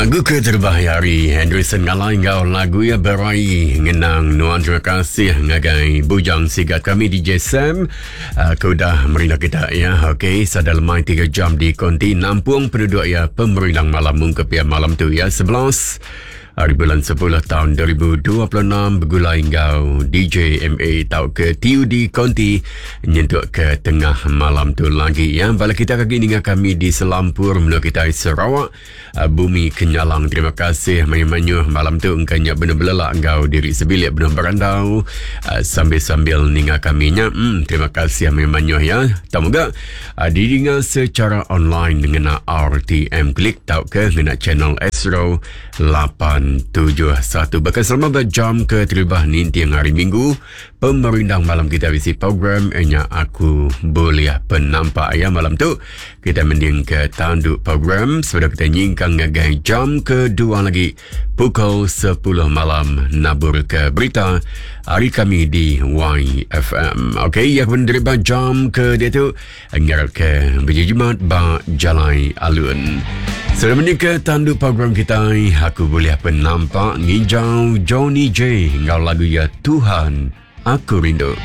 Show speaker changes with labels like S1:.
S1: Lagu ke terubah ari Henryson Ngalai enggau lagu iya Berai Ngenang Nuan. Terima kasih ngagai Bujang Sigat kami DJ Sam uh, ke udah merindang kita ya. Okey, sada lemai 3 jam di konti nampung penduduk ya pemerindang malam mungkep ya malam tu ya 11 Hari bulan 10 tahun 2026 begulai enggau DJ MA tau ke TUD Konti nyentuk ke tengah malam tu lagi ya. Bala kita kagi ninga kami di selampur menua kita Sarawak, eh, Bumi Kenyalang. Terima kasih mayuh-mayuh malam tu engka nya benar belelak enggau diri sebilik benar berandau eh, sambil-sambil ninga kami nya. Hmm, terima kasih mayuh-mayuh ya. Tau mega eh, didinga secara online ngena RTM Klik tau ke ngena channel Astro 871. Bahkan selama berjam ke terubah ninting hari Minggu, pemerindang malam kita bisi program nya aku boleh penampak ya malam tu. Kita mending ke tanduk program sebelum kita nyingkang ngagai jam kedua lagi pukul 10 malam nabur ke berita hari kami di YFM. Okey, ya menerima jam ke dia tu Ngarap ke berjimat ba jalai alun. Sudah menikah tandu program kita, aku boleh penampak ngijau Johnny J ngau lagu ya Tuhan Aku Rindu.